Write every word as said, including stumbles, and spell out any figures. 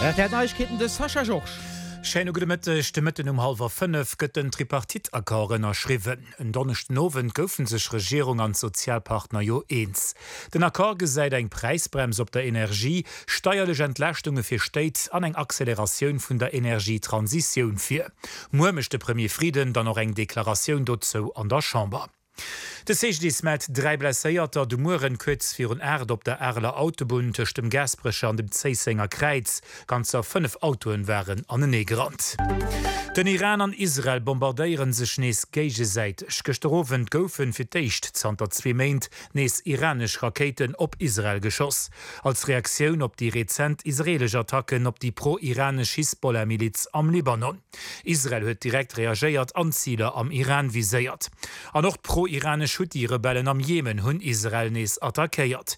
R T L Neiegkeeten, de Sascha Georges. Schéine gudde Mëtteg. De Mëtten um hallwer fënnef gëtt den Tripartite-Accord ënnerschriwwen. En Donneschden Owend goufe sech Regierung an Sozialpartner jo eens. Den Accord gesäit eng Präisbrems op der Energie, steierlech Entlaaschtunge fir Stéit an eng Acceleratioun vun der Energietransitioun vir. Muer mécht de Premier Frieden dann och eng Deklaratioun dozou an der Chamber. De C G D I S mellt dräi Blesséierter de Mueren kuerz virun aacht op der Areler Autobunn tëscht dem Gaasperecher an dem Zéissenger Kräiz. Ganzer fënnef Autoen waren anenee gerannt. Den Iran an Israel bombardéiere sech nees géigesäiteg. Gëschter Owend goufen fir d'éischt zanter zwee Méint nees iranesch Rakéiten op Israel geschoss. Als Reaktioun op déi rezent israelesch Attacken op déi pro-iranesch Hisbollah-Miliz am Libanon. Israel huet direkt reagéiert an Ziler am Iran viséiert. An och d'pro-iranesch Huthi-Rebellen am Jemen hunn Israel nees attackéiert.